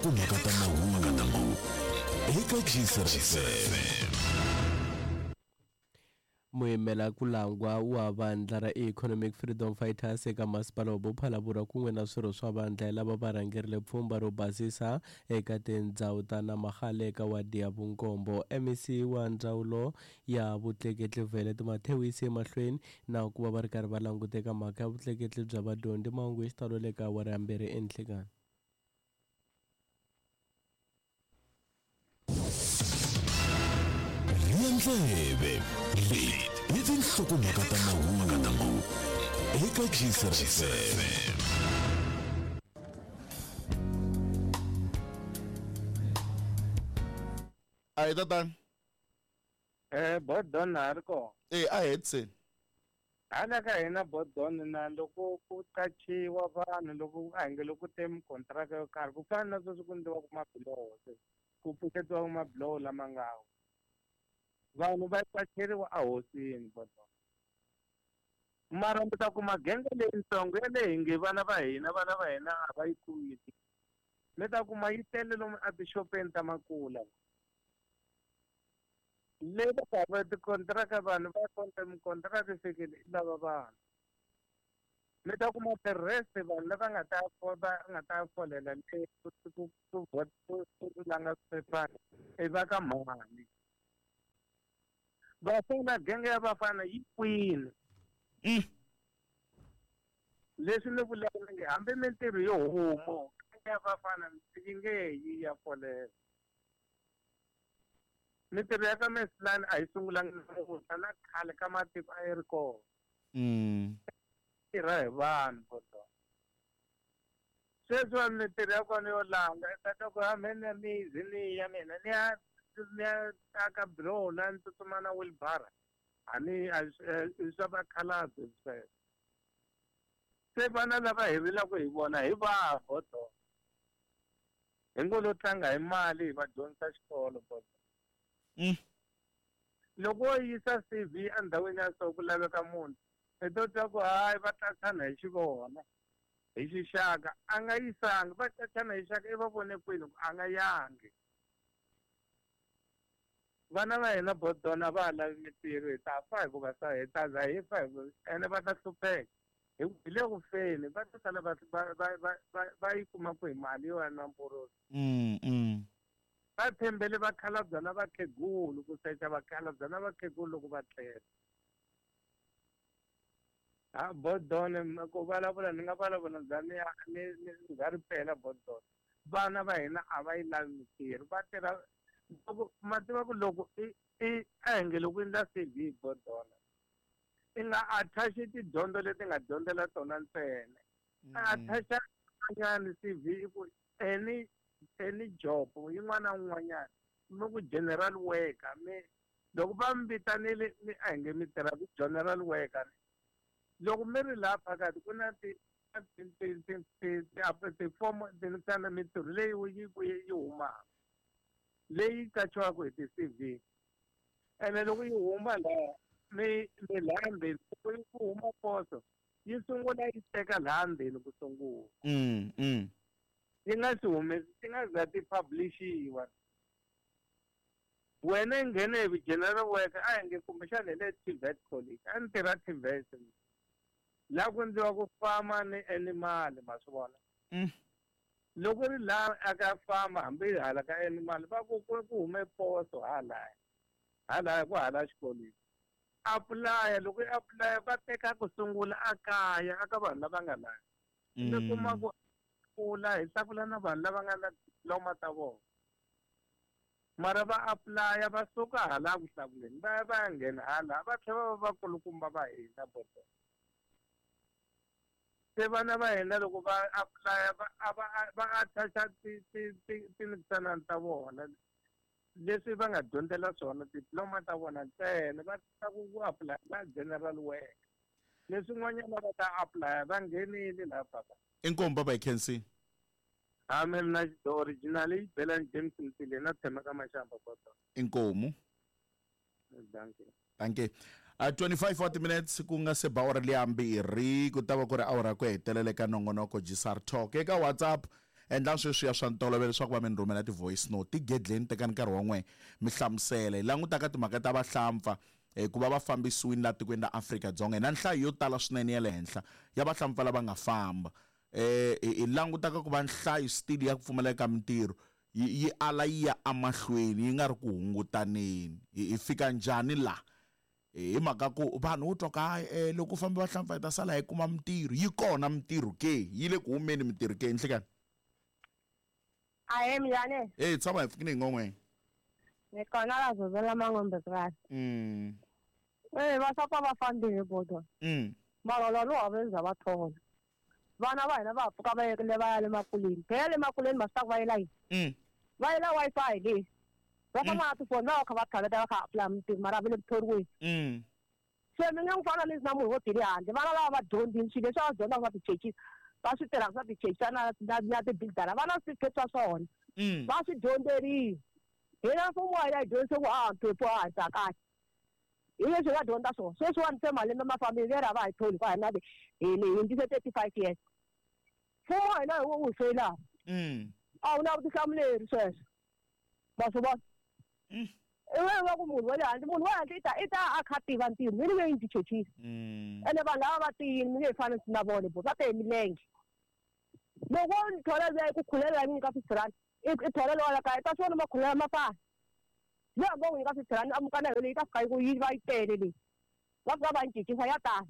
tinhlokomhaka ta mahungu eka Gcr FM. Muyimela ku langwa wa vandla ra Economic Freedom Fighters eka masipala wa Bophalabura kun'we na swirho swa vandla hi lava va rhangerile pfhumba ro basisa eka tindzhawu ta Namagale eka wadi ya vunkombo. MEC wa ndzawulo ya vutleketli Violet Matheu yi se emahlweni na ku va va ri karhi va languta eka mhaka ya vutleketli bya vadyondzi. Mahungu hi xitalo le ka awara ya mbirhi enhlikani. Rhiya ndleve leti i tinhlokomhaka ta mahungu eka Gcr FM. A hi tatana. Eh, Bodon na ha ri kona. E a hetiseni. Hala ka hina Bodon na loko ku qachiwa vanhu loko a hi nge loko ku te mikontraka yo karhi ku fana na sweswi ku endliwaka mabiloho se ku pfuxetiwaka mabiloho lama nga wa vanhu va qacheriwa ehosini Bodon. Mara mi ta kuma genge leyitsongo yaleyi hi nge vana va hina vana va hina a va yi kumi mi ta kuma yi tele lomu etixopeni ta makula. Leyi va ka va tikontiraka vanhu va konta mikontiraka yi fikile yi lava vanhu mi ta kuma ti-rest vanhu lava nga ta va nga ta folela le ku ku ku ku ku langa swiphephana i va ka mhani vafana genge ya vafana yi kwini leswi ni vulaka ni nge hambi mintirho yo humo genge ya vafana yi nge yi ya folela Mintirho ya ka Mesilani a yi sungulanga namuntlha na khale ka matiko a yi ri kona. Tirha hi vanhu vo tala. Sweswiwani mintirho ya kona yo langa i ta twa ku ha mhe ni ya mizi ni ya mina ni ya ni ya aka biloho la ni tsutsuma na wheelbarrow a ni a i swa vakhalabye sweswo. Se vana lava hi rilaka hi vona hi vahi vo tala. Hi ngo lo tlanga hi mali hi va dyondzisa xikolo bodo. Loko wo yisa CV endhawini ya so ku laveka munhu, i to twa ku hayi va qachana hi xivona, hi xixaka. A nga yisangi, va qachana hi xixaka i va vone kwini ku a nga yangi. Vana va hina bodona a va ha lavi mintirho hi ta fa hikuva sa hi ta za hi fa hi ene va ta hlupheka. Hi ku hi le ku feni va ta sala va va va va va va yi kuma kwihi mali yo ya nwa mporosi. Va tshembele vakhalabya na vakhegulu ku secha vakhalabya na vakhegulu loko va tlela. Ha bodone ku vulavula ni nga vulavula ni za ni ya ni ni za ri pela bodone. Vana va hina a va yi lavi mintirho va tirha loko ma tiva ku loko i i a hi nge loko u endla C_V bodona i nga attach tidyondzo leti nga dyondzela tona ntsena mm. attach nyana CV i ku any any job yin'wana na yin'wanyana mi ku general worker mi loko va mi vitanile mi a hi nge mi tirha ku general worker loko mi ri laha phakathi ku na ti tifomo tinisana mintirho leyi yi yi humaka leyi katsiwaka hi ti-C_V ene loko yi huma laha mi mi laha ndzeni loko ku huma poso yi sungula yi teka laha ndzeni ku sungula yi nga si humesi ti nga za ti publishiwa wena i nghene hi general worker a hi nge kumbexana hi le TVET college a ni tirha TVET laha ku endliwa ku fama ni animal ma swi vona Loko ri laha a ka famba hambi hala ka animal va ku ku ku hume poso halaya halaya ku hala xikolweni apulaya loko i apulaya va teka ku sungula a kaya aka vanhu lava nga laya mi kuma ku kula hi hlakula na vanhu lava nga na diploma ta vona mara va apulaya va suka hala ku hlakuleni va ya va ya nghena hala va tlhela va va vakulukumba va hina bodo Se vana va hina loko va apulaya va a va va attach-a ti ti ti tinitsanana ta vona leswi va nga dyondzela swona diploma ta vona ntsena va ta ku ku apulaya va general work leswin'wanyana va ta apulaya va nghenile laha papa. Inkomu baba hi khensile. Ha me mina the original i Belani James Mtile na tshema ka Mashamba kodwa. Inkomu. Dankie. Dankie. 25 wa timinutes ku nga se ba awara liya mbirhi ku ta va ku ri awara ku hetelela eka nongonoko Gisar Talk eka WhatsApp. Endlani sweswiya swa ntolovelo leswaku va mi ni rhumela ti-voice note. Tigedleni, tekani nkarhi wa n'we mi hlamusela. Hi languta ka timhaka ta vahlampfa ku va va fambisiwile laha tikweni ra Afrika-Dzonga. Hi na nhlayo yo tala swinene ya le henhla ya vahlampfa lava nga famba. Hi languta ka ku va nhlayo still ya ku pfumaleka ka mintirho yi ala yi ya emahlweni, yi nga ri ku hungutaneni. Hi fika njhani laha? Hi mhaka ku vanhu wo twa ka hayi, loko u fambe vahlampfa hi ta sala hi kuma mintirho. Yi kona mintirho ke? Yi le ku humeni mintirho ke? Nhlikani. Ahee, minjhani? Hey, tshama hi pfukile hi ngon'we. Ni kona la Zozela Mangombe purasi. Eh, va sapa va fambile bodo. Mara lwa lo va za va thola. Vana va hina va pfuka va yekile va ya le makuleni. Phela le makuleni ma swi va yela yini? Va yela Wi-Fi leyi. Va famba na tifoni va kha va thaleta va kha apply mintirho mara va le ku thoriweni. Se mi nge n'wi fana ni na munhu wo tele handle. Vana lava va dyondzile swilo leswi va swi dyondzaka swa tichechisa. Va swi tirhaka swa tichechisa na tibildara. Va na switifiketi swa swona. Va swi dyondzerile. Hina mfumo wa hina hi dyondzise ku a mphephu a hatla kahle. Hi leswi hi nga dyondza swona. Sweswiwani se malembe ma fambile leri a va hi tholi hikuva hina hi hundzise 35 years. Mfumo wa hina hi wo wu hi feyilaka. A wu na vutihlamuleri sweswo. Ma swi vona? I va ku munhu wa le handle, munhu wa le handle i ta a kha a tiva ntirho, mi nge yi ndzi chechisa. Ene vanhu lava va tiyile, mi nge yi fani na vona bo, va te hi milenge. Loko wo ni thola luya i ku khulela yi nyika 50 rand, i thola lowa la kaya, i ta swi vona makhulela ma fana. Leyi hambi wo n'wi nyika 50 rand, a muka na yona leyi, yi ta fika yi ku yi va yi tele leyi. Va fika va yi cincisa ya tala.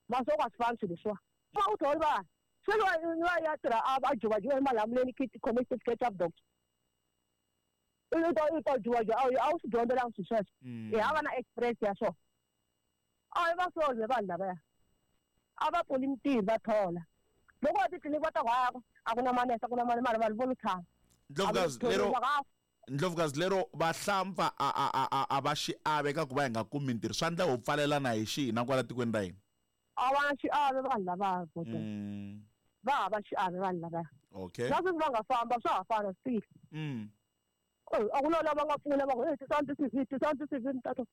Ma swi vona ku a swi fani swilo leswiwa. Va u tholi vanhu. Se loyi a ya tirha a juvajuva emalamuleni khome certificate xa doctor. I ta juvajuva, a wu swi dyondzelanga swilo sweswo. Hi hava na experience ya swona. A hi va solve vanhu lavaya. A va pfuli mintirho va thola. Loko va titliliniki va ta ku haya a ku na manese, a ku na mali, mara vanhu vo lo tshama. Ndlovukazi lero Ndlovukazi lero vahlampfa a va xiave ka ku va hi nga kumi mintirho. Swa endla ho pfalelana hi xihina kwala tikweni ra hina? A va na xiave vanhu lavaya. Va hava xiave vanhu lavaya. Okay. Na sweswi va nga famba swa ha fana still. A ku na lava nga pfuna va ku hey tisani ti-CV, tisani ti-CV ni tata.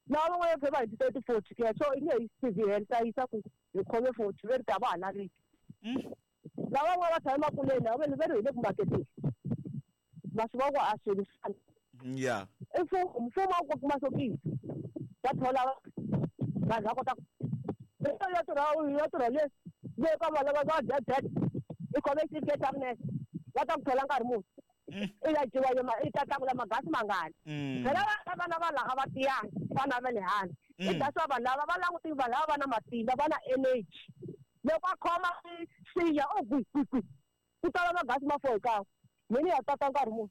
Lava van'wana va hi ti 30 40 ke so i nge yi CV hela ta yisa ku hi khome 40 ve ri ta va ha laveki. Lava van'wana va tshama emakuleni va ve ri hi le ku maketeni. Ma swi vona ku a swilo swi fana. Yeah. I mfumo a wu kuma sokisi. Va thola vanhu va kota ku ya tirha ya tirha le le ka vana va va dya dya i khome xitifiketi xa vunese va ta ku thola nkarhi muni. I ya dyiwa yo i ta tlakula magasi mangani. Phela vana va laha va tiyanga vana va le handle. I that's why vanhu lava va languti vanhu lava va na matimba va na energy. Loko a khoma siya o gwi gwi gwi ku tala magasi ma 4 hi kan'we. Mina ya tata nkarhi muni.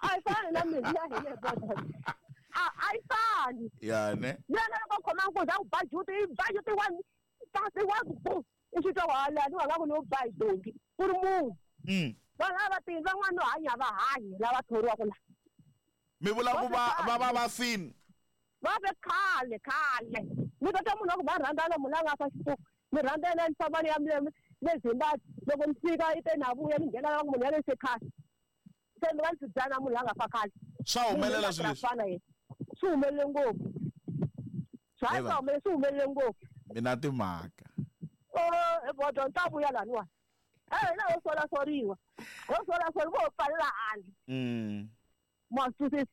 A yi fani na mina ya hina hi vona. A yi fani. Ya ne. Yena loko a khoma nkunzi a ku ba juti, i ba juti one, kasi one ku i swi twa ku hala ni wa nga ku ni wo ba hi donki ku ri munhu. Vanhu lava tiyile van'wana no hanya va hanyi lava thoriwaka la. Mi vula ku va va fini? Va ve khale khale. Mi ta twa munhu wa ku va rhandzana munhu la nga fa xipuku. Mi rhandza yena ni famba ni ya le Zimbabwe. Loko ni fika i te na vuya ni nghena la munhu ya le se khale. Se mi nga ni swi na munhu la nga fa khale. Swa humelela swilo leswi? Fana yena. Swi humelele ngopfu. Swa humelele, swi humelele ngopfu. Mina timhaka. Oh, bodo ni ta vuya laniwa. Eh, na ho sola soriwa. Ho sola soriwa ho pfalela handle. Ma swi twisisa.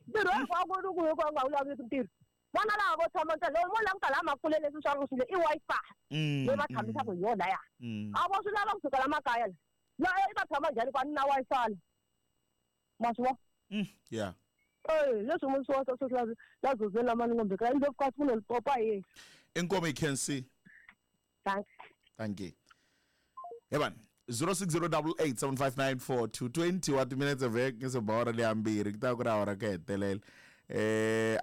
Ntirho hinkwako ku hi ku nga vulavuli ntirho. Vana lava vo tshama ntsena, loko vo languta laha makuleni leswi swa swilo i Wi-Fi. Leyi va tshamisaka hi yona ya. A vo swi lava kusuka la makaya la. La i va tshama njhani ku a ni na Wi-Fi la. Ma swi vona? Yeah. Eh, leswi munhu swi wa swi la zozela mani ngombe ka indlo ka swi popa ye. Inkomo i can see. Thanks. Thank you. Evan 0608875942 20 wa timinetse vek nge se ba ora leya mbirhi ku ta ku ri awara ku hetelela.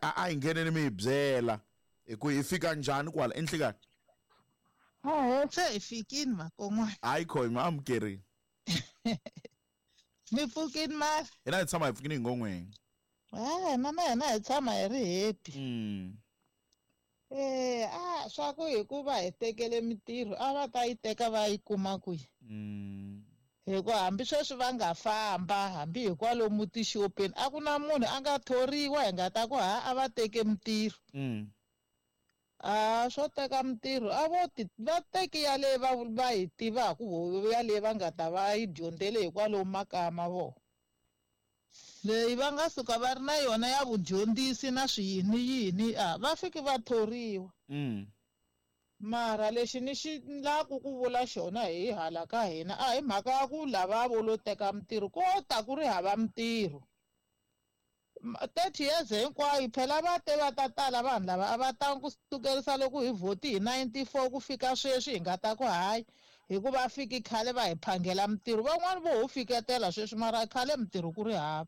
A hi ngheneni mi hi byela hi ku hi fika njhani kwala enhlikani. Se hi fikini makon'wana. Hayi khoyi mi amukerini. Mi pfukini mara? Hina hi tshama hi pfukini hi ngon'weni. Na hina hi tshama hi ri happy. Swa ku hikuva hi tekele mintirho a va ta yi teka va yi kuma kwihi? Hikuva hambi sweswi va nga famba hambi hi kwalomu tixopeni a ku na munhu a nga thoriwa hi nga ta ku ha a va teke mintirho. A swo teka mintirho a vo ti va teki yaleyi va yi tivaka yaleyi va nga ta va yi dyondzele hikwalomu makaya ma vona. Leyi va nga suka va ri na yona ya vudyondzisi na swiyini yini a va fiki va thoriwa. Mara lexi ni xi laku ku vula xona hi hala ka hina a hi mhaka ya ku lava vo lo teka mintirho ko ta ku ri hava mintirho. 30 years hinkwayo phela va te va ta tala vanhu lava a va tangi ku sukerisa loko hi vhoti hi 94 ku fika sweswi hi nga ta ku hayi hikuva fiki khale va hi phangela mintirho van'wani vo ho fiketela sweswi mara khale mintirho ku ri hava.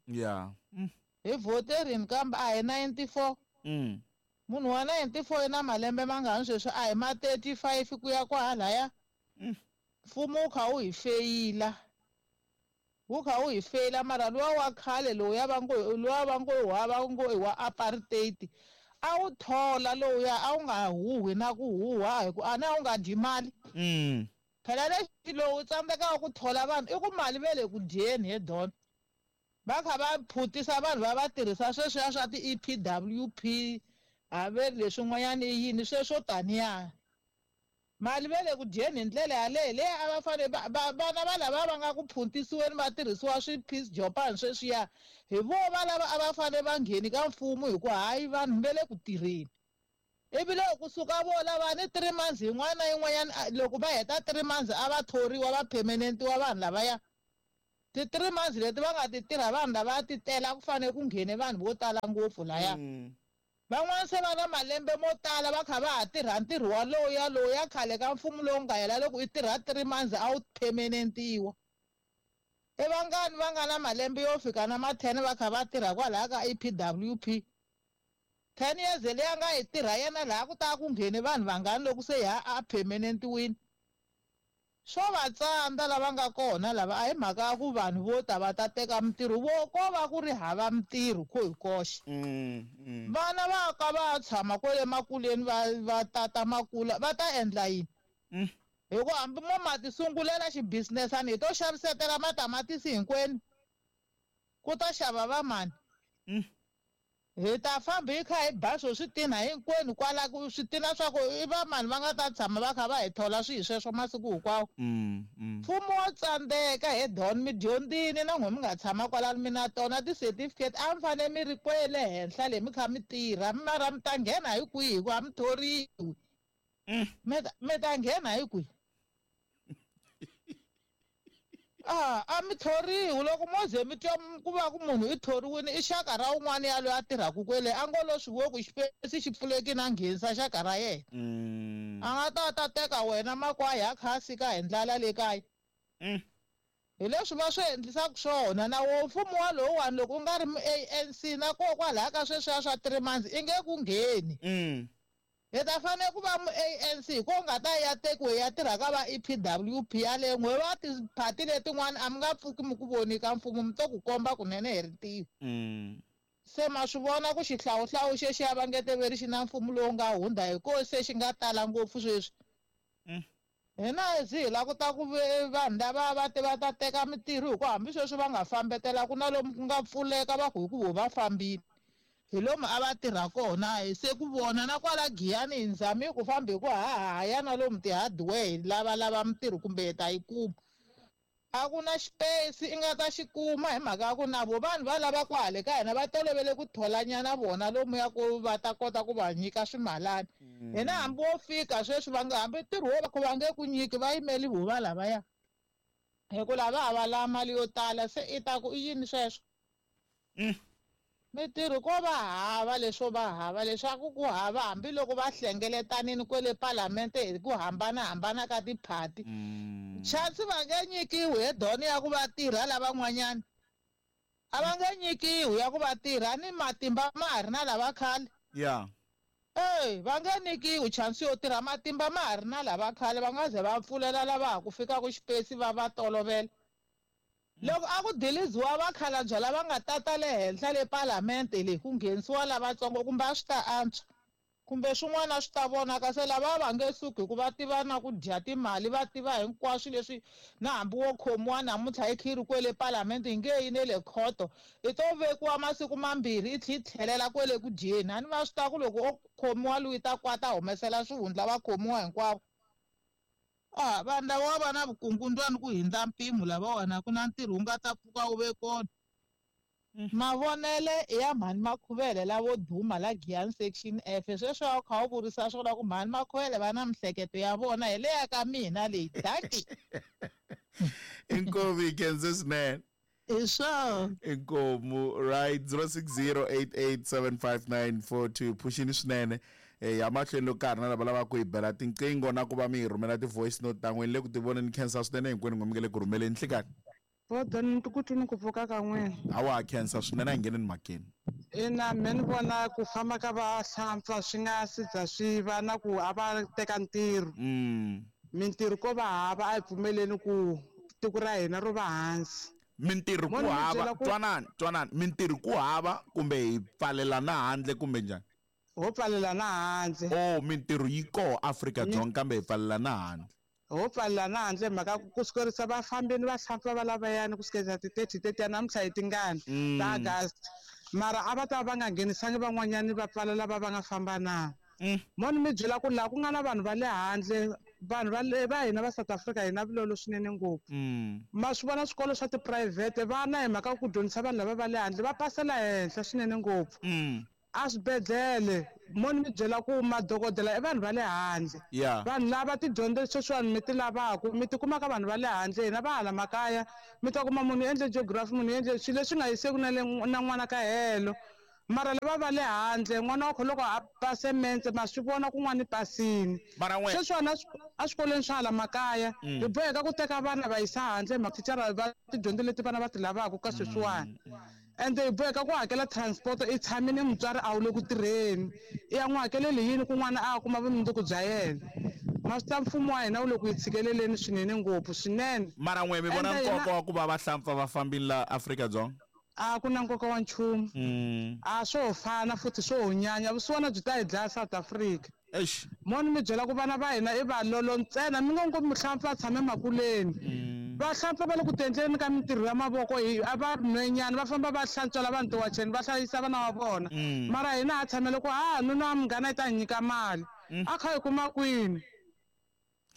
Hi vhoterini kambe a hi 94. Munhu wa 94 i na malembe mangani sweswi a hi ma 35 ku ya kwahalaya. Mfumo wu kha wu hi feyila. Wu kha wu hi feyila mara luwa wa khale lowuya va ngo luwa va ngo wa va ngo i wa apartheid a wu thola lowuya a wu nga huhwi na ku huhwa hi ku a na wu nga dyi mali. Phela lexi lowu tsandzekaka ku thola vanhu i ku mali ve le ku dyeni he Don. Va kha va phutisa vanhu va va tirhisa sweswiya swa ti-E_P_W_P a ve ri leswin'wanyana i yini sweswo taniya. Mali ve le ku dyeni hi ndlela yaleyo leyi a va fanele vana va lava va nga ku phuntisiweni va tirhisiwa swi-piece jopani sweswiya hi vo va lava a va fanele va ngheni ka mfumo hi ku hayi vanhu ve le ku tirheni. Ivi loko kusuka vo lava ni 3 months yin'wana na yin'wanyana loko va heta 3 months a va thoriwa va permanentiwa vanhu lavaya. Ti 3 months leti va nga ti tirha vanhu lava ti tela ku fanele ku nghene vanhu vo tala ngopfu laya. Van'wana se va na malembe mo tala va kha va ha tirha ntirho walowu lowuya khale ka mfumo lowu nga hela loko i tirha 3 months a wu permanentiwa. I vangani va nga na malembe yo fika na ma 10 va kha va tirha kwalaya ka E_P_W_P. 10 years leyi a nga yi tirha yena laha ku ta ku nghene vanhu vangani loko se ya a permanentiwini. Swo va tsandza lava nga kona lava a hi mhaka ya ku vanhu vo ta va ta teka mintirho vo ko va ku ri hava mintirho ko hi koxe. Vana va ka va tshama kwale makuleni va tata makula va ta endla yini? Hi ku hambi mo ma ti sungulela xibusinessani hi to xavisetela matamatisi hinkwenu ku ta xava va mani. Hi ta famba hi kha hi ba swo switina hinkwenu kwala ku switina swa ku i va mani va nga ta tshama va kha va hi thola swihi sweswo masiku hinkwawo. Mfumo wo tsandzeka he Don mi dyondzini na n'we mi nga tshama kwalano mi na tona ti-certificate a mi fanele mi ri kwele henhla le mi kha mi tirha mara mi ta nghena hi kwihi hi ku a mi thoriwi. Mi ta nghena hi kwihi? A mi thoriwi loko mo ze mi twa ku va ku munhu i thoriwini i xaka ra un'wana ya loyi a tirhaka kwele a ngo lo swi vo ku xipesi xi pfulekile a nghenisa xaka ra yena. A nga ta ta teka wena makwaya a kha a sika hi ndlala le kaya. Hi leswi va swi endlisaka swona na wo mfumo walowuwani loko u nga ri mu-A_N_C na koho kwalaya ka sweswiya swa 3 months i nge ku ngheni. Hi ta fanele ku va mu-A_N_C hi ko nga ta ya tekiwe ya tirha ka va E_P_W_P yaleyo n'we va tiphati letin'wana a mi nga pfuki mi ku voni ka mfumo mi to ku komba kunene hi rintiho. Se ma swi vona ku xihlawuhlawu xexiya va nge teveri xi na mfumo lowu nga hundza hi ko se xi nga tala ngopfu sweswi. Hina hi lava ku ta ku vanhu lava va te va ta teka mintirho hi ku hambi sweswi va nga fambetela ku na lomu ku nga pfuleka va ku hi ku vo va fambile. Hi lomu a va tirha kona hi se ku vona na kwala Giyani hi nzami ku famba hi ku hahaya na lomu ti-hardware hi lavalava mintirho kumbe hi ta yi kuma. A ku na xipesi i nga ta xi kuma hi mhaka ya ku na vo vanhu va lava ku hale ka hina va tolovele ku tholanyana vona lomuya ku va ta kota ku va nyika swimalana. Hina hambi wo fika sweswi va nga hambi ntirho wo va ku va nge ku nyiki va yimeli vo va lavaya. Hi ku lava a va lava mali yo tala se i ta ku i yini sweswo? Mintirho ko va hava leswo va hava leswaku ku hava hambiloko va hlengeletanini kwele palamente hi ku hambanahambana ka tiphati. Chance va nge nyikiwi he Don ya ku va tirha lavan'wanyana. A va nge nyikiwi ya ku va tirha ni matimba ma ha ri na lava khale. Va nge nyikiwi chance yo tirha matimba ma ha ri na lava khale va nga ze va pfulela lava ha ku fikaka xipesi va va tolovela. Loko a ku diliziwa vakhalabye lava nga tata le henhla le palamente leyi ku nghenisiwa lavatsongo kumbe a swi ta antswa. Kumbe swin'wana swi ta vonaka se lava va nge suki hikuva tiva na ku dya timali, va tiva hinkwaswo leswi na hambi wo khomiwa namuntlha i khiri kwele palamende yi nge yi ne le khoto, i to vekiwa masiku mambirhi i tlhi tlhelela kwele ku dyeni. A ni va swi tiva ku loko o khomiwa loyi ta kwata humesela swihundla va khomiwa hinkwavo. A vanhu lava va na vukungundzwani ku hindza mpimo lavawani, a ku na ntirho wu nga ta pfuka wu ve kona. Mavonele i ya mhani Makhuvele lavo duma la Giyani Section F. Sweswi a wu kha u vurisa swona ku mhani Makhuvele va na mihleketo ya vona hi leya ka mina leyi. Dankie. Inkomu yi khense swinene. Hi swona. Inkomu right 0608875942 phuxini swinene ya mahlweni loko ka ha ri na lava lavaka ku hi bela tinqingho na ku va mi hi rhumela ti-voice note ta n'wina le ku tivoneni khensa swinene hinkwenu n'we mi nge le ku rhumeleni nhlikani. Bodo ni ku twi ni ku pfuka ka n'wina. Hawa khensa swinene a hi ngheneni mhakeni. Ina me ni vona ku famba ka vahlampfa swi nga si za swi va na ku a va teka ntirho. Mintirho ko va hava a hi pfumeleni ku tiko ra hina ro va hansi. Mintirho ku hava twanani twanani mintirho ku hava kumbe hi pfalela na handle kumbe njhani? Ho pfalela na handle. Oh mintirho yi koho Afrika Dzonga kambe hi pfalela na handle. Ho pfalela na handle hi mhaka ku sukerisa va fambini vahlampfa va lavayani ku sukela ti 30 30 ya namuntlha hi tingani ta August mara a va ta va nga nghenisangi van'wanyani va pfala lava va nga famba na. Mo ni mi byela ku laha ku nga na vanhu va le handle vanhu va le va hina va South Africa hi na vulolo swinene ngopfu. Ma swi vona swikolo swa tiphurayivhete vana hi mhaka ku dyondzisa vanhu lava va le handle va pasela henhla swinene ngopfu. A swibedhlele mo ni mi byela ku madokodela i vanhu va le handle. Vanhu lava tidyondzo sweswiwani mi ti lavaka mi ti kuma ka vanhu va le handle, hina va hala makaya mi ta kuma munhu u endle geography, munhu u endle swilo leswi nga yiseki na le na n'wana ka helo. Mara lava va le handle n'wana wa kho loko a pase metse ma swi vona ku n'wana i pasini. Sweswiwani a swikolweni swa hala makaya hi boheka ku teka vana va yisa handle hi mathicara va tidyondzo leti vana va ti lavaka ka sweswiwani. Ende hi boheka ku hakela transport i tshamile mutswari a wu le ku tirheni i ya n'wi hakeleli yini ku n'wana a ya kuma vumundzuku bya yena. Ma swi tiva mfumo wa hina wu le ku hi tshikeleleni swinene ngopfu swinene. Mara n'we mi vona nkoka wa ku va vahlampfa va fambile la Afrika-Dzonga? A ku na nkoka wa nchumu. A swo ho fana futhi swo ho nyanya vusiwana byi ta hi dlaya South Africa. Eish. Mo ni mi byela ku vana va hina i valolo ntsena mi ngo ngo muhlampfa a tshame makuleni. Vahlampfa va le ku tiendleleni ka mintirho ya mavoko hi a va ri nhwenyana va famba va hlantswela vanhu tiwacheni va hlayisa vana va vona. Mara hina ha tshamele ku ha nuna wa munghana i ta hi nyika mali. A kha hi kuma kwini?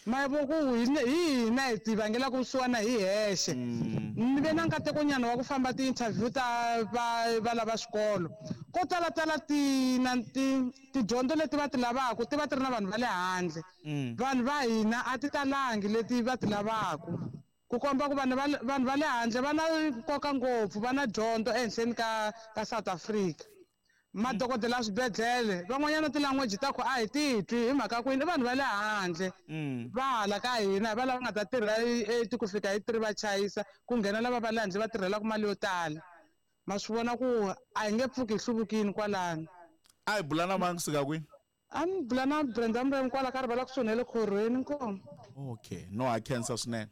Ma vo ku hi hi hina hi ti vangelaka vusiwana hi hexe. Ni ve na nkatekonyana wa ku famba ti-interview ta va va lava swikolo. Ko talatala ti na ti tidyondzo leti va ti lavaka ti va ti ri na vanhu va le handle. Vanhu va hina a ti talangi leti va ti lavaka. Ku komba ku vanhu va vanhu va le handle va na nkoka ngopfu va na dyondzo ehenhleni ka ka South Africa. Madokodela ya swibedhlele van'wanyana ti-language ta ku a hi ti twi hi mhaka ku yini i vanhu va le handle va hala ka hina hi va lava nga ta tirha eight ku fika hi 3 va chayisa ku nghena lava va le handle va tirhelaka mali yo tala. Ma swi vona ku a hi nge pfuki hi hluvukile kwalano. A hi bula na mani kusuka kwini? A ni bula na Brenda Mrem kwala ka rivala kusuhi na le khorhweni inkomu. Okay no ha khensa swinene.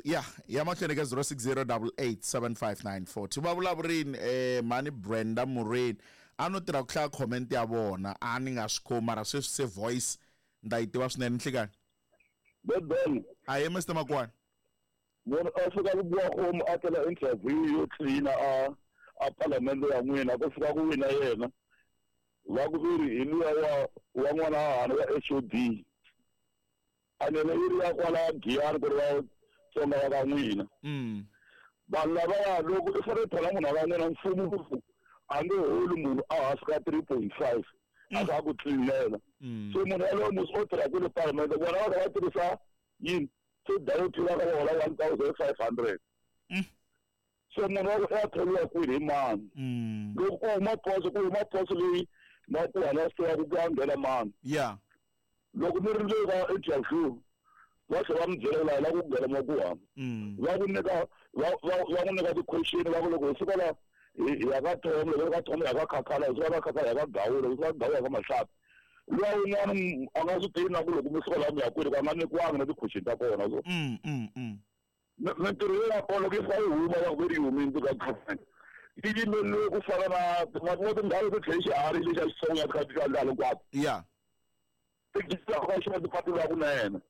Ya ya mahlweni ka 0608875942 va vulavurini mhani Brenda Mureni a no tirha ku hlaya comment ya vona a ni nga swi khomi mara sweswi se voice ni ta yi tiva swinene nhlikani. Bebeni. Ahee Mister Makwani. Munhu a fika ku biwa homu a tela interview yo clean a a palamende ya n'wina ku fika ku wina yena va ku ri hi luya wa wa n'wana wa hana wa HOD. Anele yi ri ya kwala Giyani ku ri va Tsonga va ka n'wina. Vanhu lavaya loko i fanele thola munhu wa ka n'wina mfumo wu a nge holi munhu a hansi ka 3.5 a kha a ku tlilinela. So munhu yaloye musi o tirha kwele palamende vona va kha va tirhisa yini se dayoti va kha va hola 1500. So munhu wa ku ya thoriwa kwini hi mani? Loko ku huma poso ku huma poso leyi makuhani ya swi tivaka ku ya nghena mani. Loko mi ri le ka interview va tlhela va mi byela ku la hi lava ku nghena makuhani. Va ku nyika va va va ku nyika ti-question va ku loko hi suka la hi hi ya ka Tom loko hi ka Tom hi ya ka Khakhala hi suka ka Khakhala hi ya ka Gawula hi suka ka Gawula hi ya ka Mahlapi. Luya wun'wana a nga swi tivi na ku loko mi suka la mi ya kwini ku a nga nyikiwangi na ti-question ta kona so. Mintirho leyi ya kona loko yi fika yi huma va ku ve ri yi humile ka government. Yi yimeleriwe ku fana na tin'wana tindhawu to tlhela xiharhi lexi a xi tsonga kha ti ndhawu hinkwato. Ya. Ti ka xona tipatu la kunene.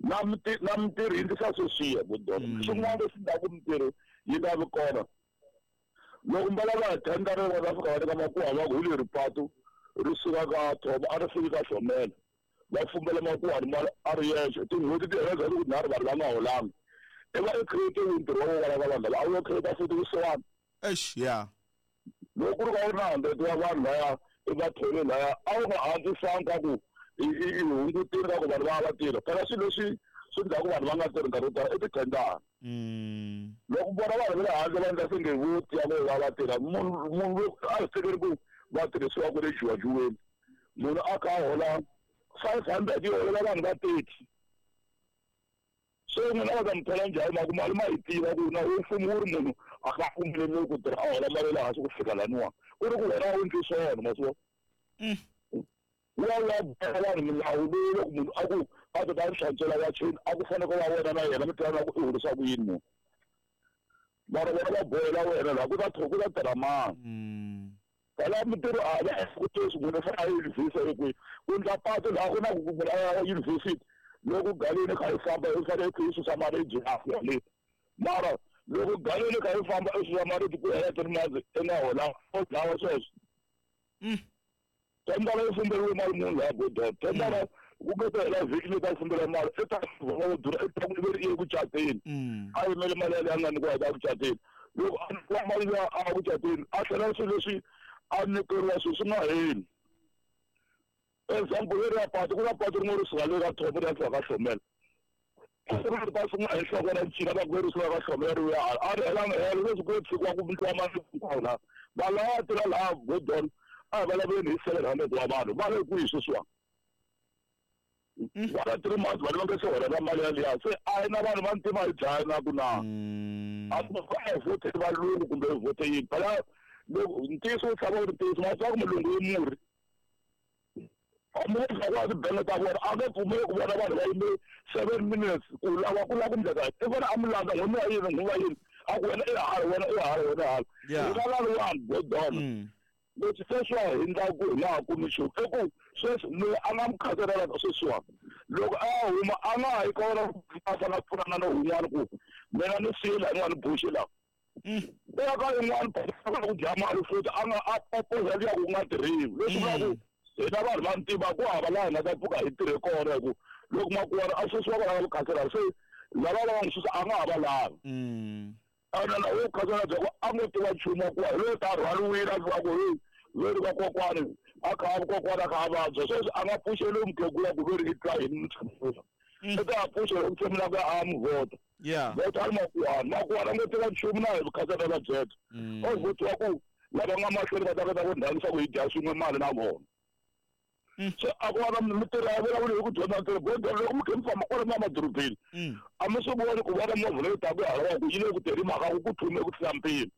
Na na mintirho yi ndlisa sweswiya bodona. Swin'wana leswi endlaku mintirho yi nga vi kona. Loko va lava thendara va fika va nyika makuwa va ku hi leri patu ri suka ka Thobo a ri fiki ka Hlomela. Va fumbela makuwa mali a ri yexe. Tin'hweti ti hela ku nharhu vanhu va nga holanga. I va i create ntirho wa vona ka vanhu lava a wu create futhi kusuhani. Eish, ya. Loko ku ri ka u ri na 100 wa vanhu laya i va thole laya a wu nga antswisanga ka ku i hungutile ka ku vanhu va va tirha. Phela swilo leswi swi endlaku vanhu va nga tirhi nkarhi wo tala i tithendara. Loko vona vanhu va le handle va endla swi nge vo tiya ku va va tirha munhu a hi tekeli ku va tirhisiwa ku le juwajuweni. Munhu a kha a hola 500 yi holela vanhu va 30. Se n'wina va ta mi thola njhani mhaka mali ma yi tiva ku na mfumo wu ri munhu a nga pfumeleriwi ku tirha a hola mali ya le hansi ku fika laniwa. Ku ri ku wena a wu endli swona ma swi vona. Wu ya wu ya boha vanhu milawu leyi loko munhu a ku a ta ta hlantswela wacheni a ku fanele ku va wena na yena mi tivana ku i horisa ku yini munhu. Mara vona va bohela wena laha ku ta ku ta tirha mani. Phela mintirho a va ku sweswi munhu u fanele a ya yunivhesiti kwihi. Ku endla patu laha ku na ku munhu a ya yunivhesiti loko galeni kha yi famba i fanele i susa maribye le. Mara loko galeni kha yi famba i susa maribye ku hela 3 months i nga hola u dlawa sweswo. Tendara yi fumberiwe mali munhu laha Godon. Tendara ku nga ta hela vhiki leyi ta fumbela mali i ta va durha i ta ku i ye ku cateni. A yimele mali yaleyo a nga nyikiwa hi ta ku cateni. Loko a nyikiwa mali liya a ku cateni a tlhela swilo leswi a nyikeriwa swilo swi nga heli. Example leri ya patu ku na patu rin'we ri suka le ka Thobo ri ya fika ka Hlomela. Ri ta sungula hi nhloko ra ncila va ku ri suka ka Hlomela ri ya hala. A ri helanga helo leswi ku tshikiwa ku nyikiwa mali hinkwawo laha. Vanhu lava va tirha laha Godon a hi vulavuleni hi 700 wa vanhu va le kwihi sweswiwani. Va na 3 months vanhu va nga se hola na mali yaliya. Se a hi na vanhu va ntima hi dlaya na ku na. A ku va hi vote valungu kumbe hi vote yini. Phela loko ntiyiso wu tshama wu ri ntiyiso ma swi ku mulungu i murhi. Hambi ku va tibenge ta vona a nge pfumeli ku vona vanhu va yime 7 minutes ku lava ku lava ku endleka. I vona a mi landza n'hweti wa yini n'hweti wa yini a ku wena i hala wena i hala wena i hala. Hi nga lavi vanhu Godon. Leswi sweswiwa hi endlaku hi nga ha kumi nchumu i ku sweswi loyi a nga mukhanselara sweswiwa loko a huma a nga ha yi ka wona a fanele a pfunana na wun'wana ku mina ni siye laha ni nga ni boxi laha. U ya ka yin'wana ku dya mali futhi a nga a proposa liya ku nga tirhiwi. Leswi vulaka ku hina vanhu va ntima ku hava laha hi nga ta pfuka hi tirhe kona hi ku loko makuwana a susiwa kwala ka vukhanselara se lava va nga n'wi susa a nga ha va lavi. Ene na wo khanselara bya ku a ngo tiva nchumu wa ku hi loyi ta rhwaliwile a fika ku hey veri va kokwani a kha a kokwana a kha a vabya sweswi a nga pfuxeliwi mukhegula ku veri i twa hi mutshamisisa. I ta pfuxela ku tshemula ku a mu vhota. Vhota ri makuwana makuwana a ngo tiva nchumu na hi vukhanselara byebyo. O vhotiwa ku lava nga mahlweni va ta kota ku ndhangisa ku hi dya swin'we mali na vona. Se a ku va na mintirho ya vulavula hi ku dyondza ntirho Godon loko mi kha mi famba kwala madorobeni a mi swi voni ku vona movha leyi taka hala ku yi le ku tirhi mhaka ku ku thume ku tlula mpimo.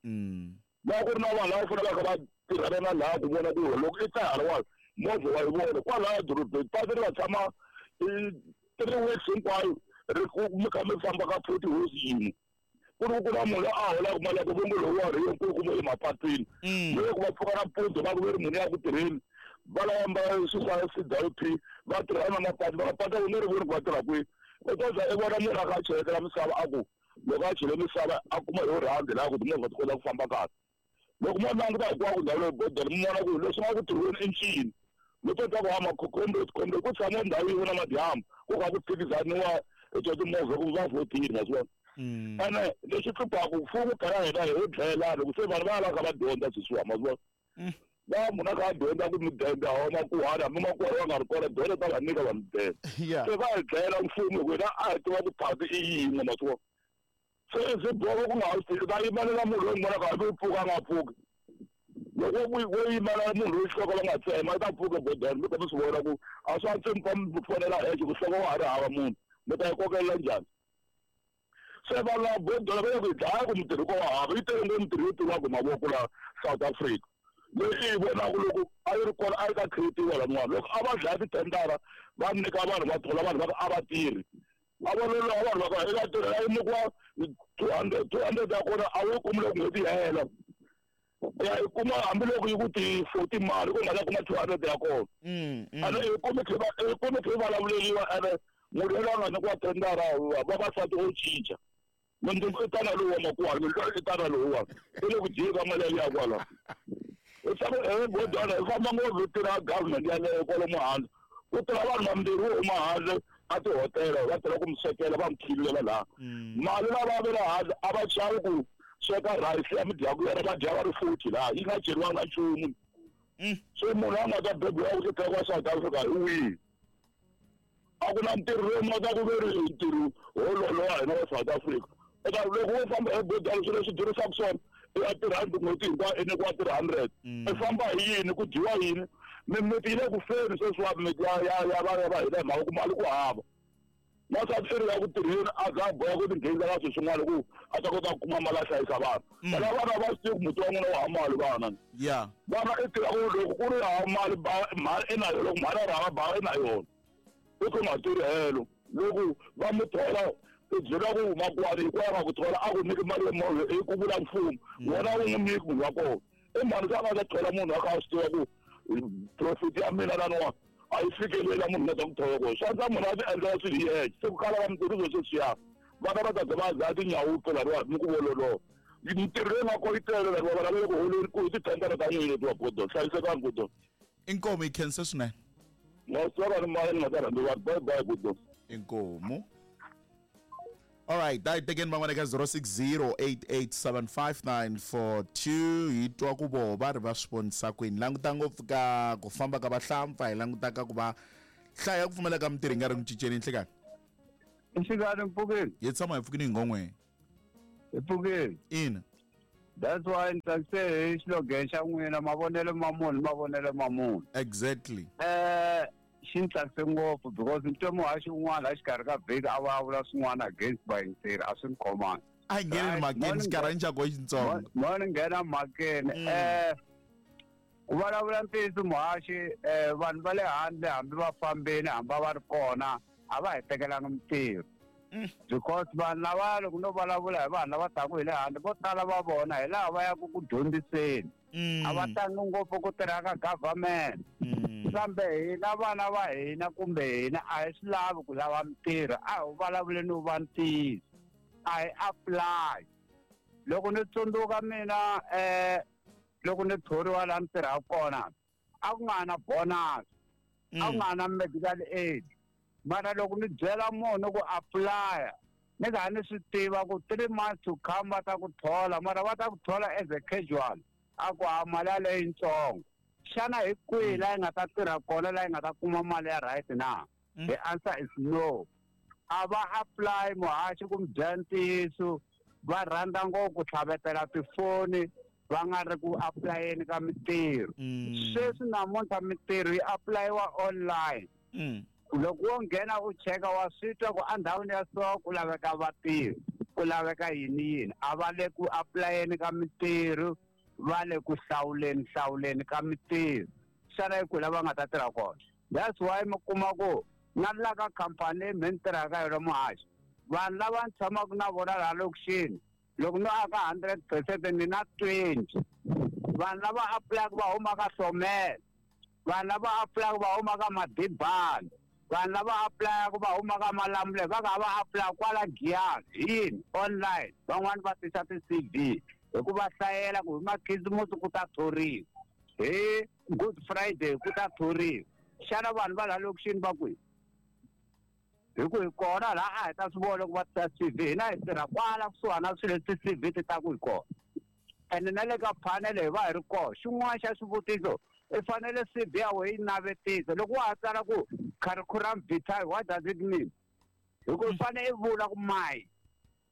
Laha ku ri na vanhu lava faneleke va kha va tirhana na laha ku vona ku loko i ta halawani movha wa yi vona kwalaya dorobeni patu ri va tshama 3 weeks hinkwayo ri ku mi kha mi famba ka 40 hosi yin'we. Ku ri ku na munhu loyi a holaka mali ya ku vongo lowu wa ri yo nkulukumba emapatwini. Loko va pfuka nampundzu va ku ve ri munhu ya ku tirheni va lava mbala swilo swa CWP va tirha na mapatu va patu wu nge ri voni ku va tirha kwihi. U ta za i vona munhu a kha a cheletela misava a ku loko a chele misava a kuma hi rhandi laha ku timovha ti kota ku famba kahle. Loko mo languta hinkwako ndhawu leyi Godon mi vona ku leswi nga ku tirhiweni i ncini. Loko ta ku hama khombe ku tshama ndhawu yin'we na madyambu ku kha ku phikizaniwa hi twa timovha ku va vhotile ma swi vona. Ene lexi hluphaku mfumo phela hina hi wo dlayelana loko se vanhu va ya va kha va dyondza sweswiwa ma swi vona. Va munhu a kha a dyondza ku mudende a huma makuhani hambi makuhani va nga ri kona dyondzo ta va nyika va mudende. Se va hi dlayela mfumo hi ku hina a hi tiva ku phati i yin'we ma swi vona. Se swi boha ku nga ha swi tivi va yimelela munhu loyi n'wi vonaka hambi u pfuka a nga pfuki. Loko wo yimela munhu loyi xihoko va nga tsema i ta pfuka Godon mi kha mi swi vona ku a swi antswi mi mi fonela hexe ku nhloko wa ha ri hava munhu mi ta yi kokelela njhani. Se vanhu lava Godon va le ku hi dlaya ku mintirho ko wa hava yi tele ngopfu mintirho yo tirhiwaka hi mavoko laha South Africa. Leyi i yi vonaka loko a yi ri kona a yi ta create-iwa laniwani. Loko a va dlaya titendara va nyika vanhu va thola vanhu va ku a va tirhi. A va loloha vanhu va ka eka tirhela yi nyikiwa 200 200 ya kona a wu yi kumi loko n'hweti yi hela. Ya yi kuma hambiloko yi ku ti 40 mali ku nga ta kuma 200 ya kona. Ene yi kumi khe yi kumi khe vulavuleriwa ene munhu loyi a nga nyikiwa tendara vavasati o cinca. Mundzuku i tana lowu wa makuwani mundzuku i tana lowuwani i le ku dyeni ka mali yaliya kwala. Leswaku godwana hi famba ngopfu hi tirha government yaleyo kwalomu handle ku tirha vanhu vambirhi wo huma handle a tihotela va tirha ku mi swekela va mi khilulela laha mali lava va le handle a va chavi ku sweka rice ya mi dyaku yona va dya va ri futhi laha yi nga cheriwanga nchumu. Se munhu a nga ta bebiwa ku tirha kwa South Africa hi wihi? A ku na ntirho lowu nga ta ku ve ri ntirho wololowa hina wa South Africa. Eka loko wo famba hi godwana swilo leswi durisaka swona i ya tirhandi n'hweti hinkwayo i nyikiwa 300. I famba hi yini ku dyiwa yini? Mimiti yi le ku feni sweswiwani mimiti ya ya ya va ya va hina hi mhaka ku mali ku hava. Wansati i ri ya ku tirheni a za a boha ku tinghenisa ka swilo swin'wana ku a ta kota ku kuma mali a hlayisa vana. Phela vana va swi tivi ku muti wa n'wina wu hava mali vana. Vana i tiva ku loko ku ri hava mali ba mhani i na yona loko mhani a ri hava bava i na yona. I ku nga tirhi helo loko va mu thola i byela ku makwani hikwalaho nga ku thola a ku nyiki mali ya movha i ku vula mfumo wena wu n'wi nyiki munhu wa kona i mhani se a nga ta thola munhu a kha a swi tiva ku profit ya mina laniwa a yi fikeleli munhu nga ta ku thola kona swi antswa munhu a ti endlela swilo hi yexe se ku kala ka mintirho swilo sweswiya vana va ta za va dlaya tinyawupe laniwa ni ku vololoha mintirho leyi nga kona yi tele laniwa vana va le ku holeni ku hi tithendara ta n'wina letiwa godon hlayisekani godon. Inkomu yi khense swinene. Bye bye godon. Inkomu. Alright, a hi tekeni van'wana eka 0608875942 hi twa ku voho va ri va swi vonisa kwini languta ngopfu ka ku famba ka vahlampfa hi languta ka ku va hlaya ya ku pfumaleka ka mintirho yi nga ri ku cinceni nhlikani. Nhlikani mpfukeni. Hi tshama hi pfukini hi ngon'we. Hi pfukeni. Ina. That's why ni tsakise hi xilogan xa n'wina mavonelo ma munhu mavonelo ma munhu. Exactly. Xi ni tsakise ngopfu because ni twe muhaxi un'wana la xikarhi ka vhiki a vulavula swin'wana against vayingiseri a swi ni khomanga. A hi ngheneni mhakeni xikarhani xa koho xitsongo. Mo ni nghena mhakeni ku vulavula ntiyiso muhaxi vanhu va le handle hambi va fambini hambi va ri kona a va hi tekelanga mintirho. Because vanhu lava loko no vulavula hi vanhu lava taka hi le handle vo tala va vona hi laha va yaka ku dyondziseni. A va tangi ngopfu ku tirha ka government. Kambe hina vana va hina kumbe hina a hi swi lavi ku lava mintirho a hi vulavuleni wu va ntiyiso a hi apply. Loko ni tsundzuka mina loko ni thoriwa laha ni tirhaka kona a ku nga na bonus a ku nga na medical aid mara loko ni byela munhu ku apply ni kha ni swi tiva ku 3 months to come va ta ku thola mara va ta ku thola as a casual a ku ha mali yaleyo yitsongo xana hi kwihi laha yi nga ta tirha kona laha yi nga ta kuma mali ya right na? The answer is no. A va apply muhaxi ku mi byela ntiyiso va rhandza ngopfu ku tlhavetela tifoni va nga ri ku aplayeni ka mintirho. Sweswi namuntlha mintirho yi aplayiwa online. Loko wo nghena u cheka wa swi twa ku endhawini ya so ku laveka vatirhi ku laveka yini yini a va le ku aplayeni ka mintirho va le ku hlawuleni hlawuleni ka mintirho xana hi kwihi la va nga ta tirha kona. That's why mi kuma ku na la ka khampani leyi me ni tirhaka yona muhaxi vanhu lava ni tshamaka na vona laha lokixini loko no aka 100% ni na 20 vanhu lava aplayaka va huma ka Hlomela vanhu lava aplayaka va huma ka Madibani vanhu lava aplayaka va huma ka Malamulele va ka va apply kwala Giyani hi yini online van'wani va tisa ti-CV hi ku va hlayela ku hi makhisimusi ku ta thoriwa hi Good Friday ku ta thoriwa xana vanhu va laha lokixini va kwihi hi ku hi kona laha a hi ta swi vona loko va tisa CV hina hi tirha kwala kusuhana na swilo leswi ti-CV ti taku hi kona ene na le ka panel hi va hi ri kona xin'wana xa swivutiso i fanele CV ya wena yi navetisa loko wa ha tsala ku curriculum vitae what does it mean hi ku i fanele i vula ku my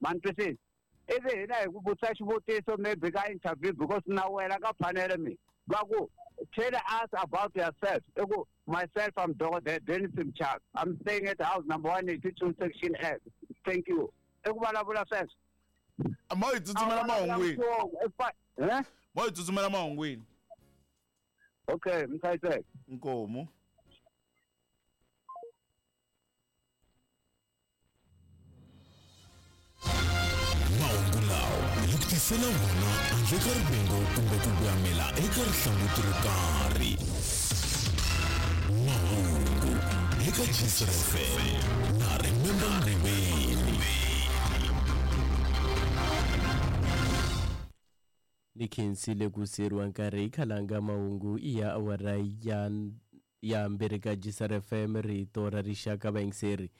ma ni twisisa ivi hina hi ku vutisa xivutiso maybe ka interview because na wena ka panel mi va ku tell us about yourself i ku myself I'm Dr. Dennis Mchaka I'm staying at house number 182 section F thank you i ku vulavula sweswo mo hi tsutsumela mahungwini mo hi tsutsumela mahungwini. Okay mi hlayiseke. Inkomu. tisela wona handle ka rivengo kumbe ku voyamela eka rihlanguti ro karhi. Mahungu eka Gcr FM na Remember Mriveni. Ni khensile ku siyeriwa nkarhi khalanga mahungu ya awara ya mbirhi ka Gcr FM rito ra rixaka vayingiseri.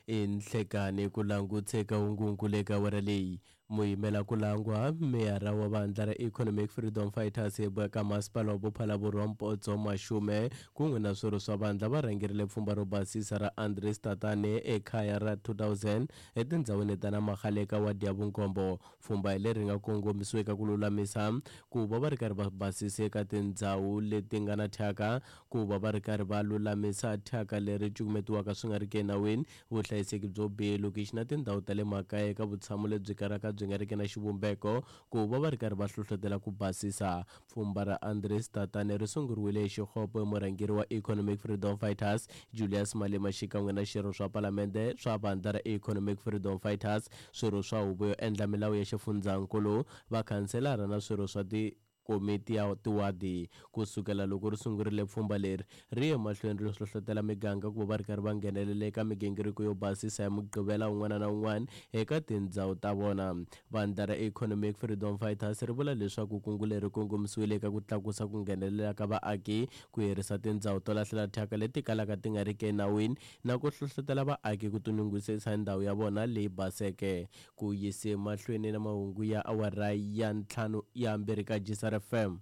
Enhlekani ku languteka hungungu le ka awara leyi muyimela ku langwa meyara wa vandla ra Economic Freedom Fighters eka masipala wa Bophalaborwa Mpotso Mashume kun'we na swirho swa vandla va rhangerile pfhumba ro basisa ra Andries Tatane ekhaya ra 2000 etindhawini ta Namagale eka wadi ya vunkombo. Pfhumba leri nga kongomisiwa eka ku lulamisa ku va va ri karhi va basisa eka tindhawu leti nga na thyaka, ku va va ri karhi va lulamisa thyaka leri cukumetiwaka swi nga ri ki enawini, vuhlayiseki byo biha elokixi na tindhawu ta le makaya eka vutshamo lebyi kalaka byi nga riki na xivumbeko, ku va va ri karhi va hlohlotela ku basisa. Pfhumba ra Andries Tatane ri sunguriwile hi xixopo hi murhangeri wa Economic Freedom Fighters Julius Malema xikan'we na xirho swa palamende swa vandla ra Economic Freedom Fighters, swirho swa huvo yo endla milawu ya xifundzankulu, vakhanselara na swirho swa tikomiti ya tiwadi. Ku sukela loko ri sungurile pfhumba leri ri ye mahlweni ri hlohlotela miganga ku va va ri karhi va nghenelela eka migingiriko yo basisa hi Mugqivela wun'wana na wun'wana eka tindhawu ta vona. Vandla ra Economic Freedom Fighters ri vula leswaku kungu leri kongomisiwile eka ku tlakusa ku nghenelela ka vaaki, ku herisa tindhawu to lahlela thyaka leti kalaka ti nga riki enawini na ku hlohlotela vaaki ku tinyungubyisa hi ndhawu ya vona leyi baseke. Ku yise mahlweni na mahungu ya awara ya ntlhanu ya mbirhi ka Gcr FM.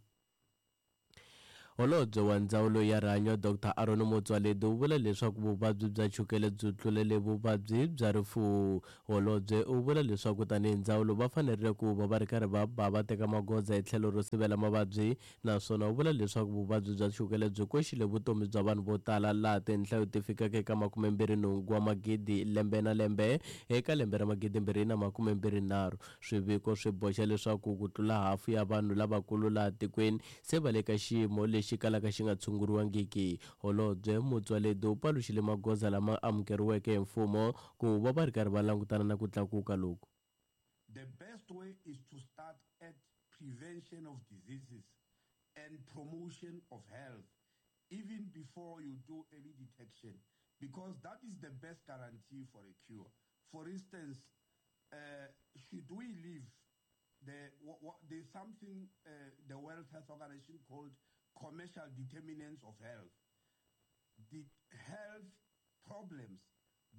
Holobye wa ndzawulo ya rihanyo Dr Aaron Motsoaledi u vula leswaku vuvabyi bya chukele byi tlulele vuvabyi bya rifuwo. Holobye u vula leswaku tanihi ndzawulo va fanerile ku va va ri karhi va ba va teka magoza hi tlhelo ro sivela mavabyi, naswona u vula leswaku vuvabyi bya chukele byi koxile vutomi bya vanhu vo tala laha tinhlayo ti fikaka eka 28 wa magidi lembe na lembe eka lembe ra 2023. Swiviko swi boxa leswaku ku tlula hafu ya vanhu lavakulu laha tikweni se va le ka xiyimo lexi kalaka xi nga tshunguriwangiki. Holobye Motsoaledi u paluxile magoza lama amukeriweke hi mfumo ku va va ri karhi va langutana na ku tlakuka loku. The best way is to start at prevention of diseases and promotion of health even before you do early detection, because that is the best guarantee for a cure. For instance, should we leave there's something the World Health Organization called commercial determinants of health. The health problems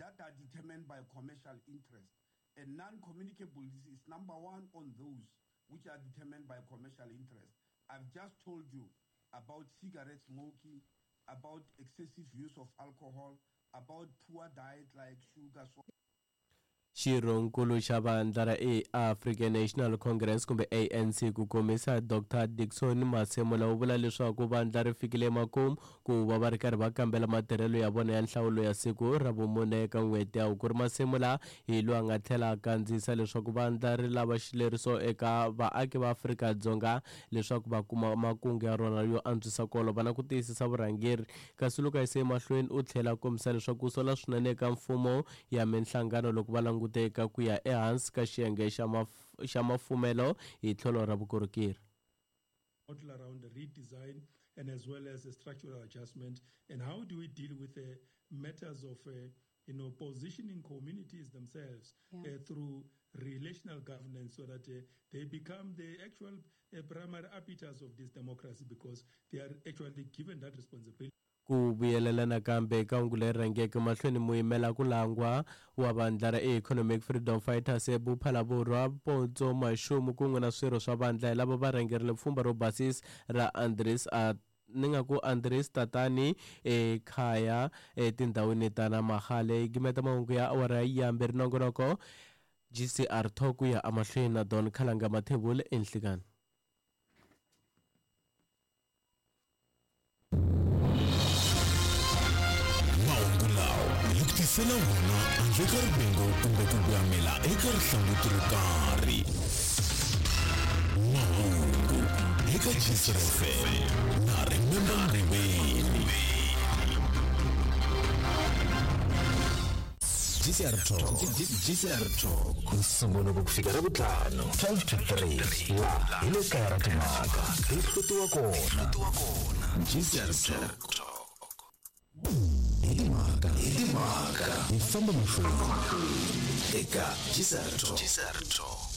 that are determined by commercial interest, and non-communicable disease is number one on those which are determined by commercial interest. I've just told you about cigarette smoking, about excessive use of alcohol, about poor diet like sugar. Xirhonkulu xa vandla ra African National Congress kumbe ANC ku komisa Dr Dickson Masemola u vula leswaku vandla ri fikile emakumu ku va va ri karhi va kambela matirhelo ya vona ya nhlawulo ya siku ra vumune eka n'hweti ya Hukuri. Masemola hi loyi a nga tlhela a kandziyisa leswaku vandla ri lava xileriso eka vaaki va Afrika-Dzonga leswaku va kuma makungu ya rona yo antswisa ku olova na ku tiyisisa vurhangeri. Kasi loko a yise emahlweni u tlhela a kombisa leswaku ku sola swinene eka mfumo ya minhlangano loko va languteka ku ya ehansi ka xiyenge xa mafumelo hi tlhelo ra vukorhokeri. Model around the redesign and as well as a structural adjustment, and how do we deal with the matters of positioning communities themselves through relational governance so that they become the actual primary arbiters of this democracy, because they are actually given that responsibility. Ku vuyelela nakambe eka hungu leri rhangeke mahlweni, muyimela ku langwa wa vandla ra Economic Freedom Fighters eBuphalaborwa Potso Mashumu kun'we na swirho swa vandla hi lava va rhangerile pfhumba ro basisa ra Andries Andries Tatane ekhaya etindhawini ta Namagale. Gimeta mahungu ya awara ya mbirhi nongonoko GCR Talk ku ya emahlweni na Don Khalanga Mathebula enhlikani. Tisela wona handle ka rivengo kumbe ku voyamela eka rihlanguti ro karhi. Mahungu eka Gcr FM na Remember Mriveni. GCR Talk GCR Talk Nsumbhunuko ku fika Ravuntlhanu 12 to 3 laha hi le kaya ra timhaka hi hlutiwa kona GCR Talk hi timhaka hi timhaka hi famba mahlweni eka GCR Talk GCR Talk.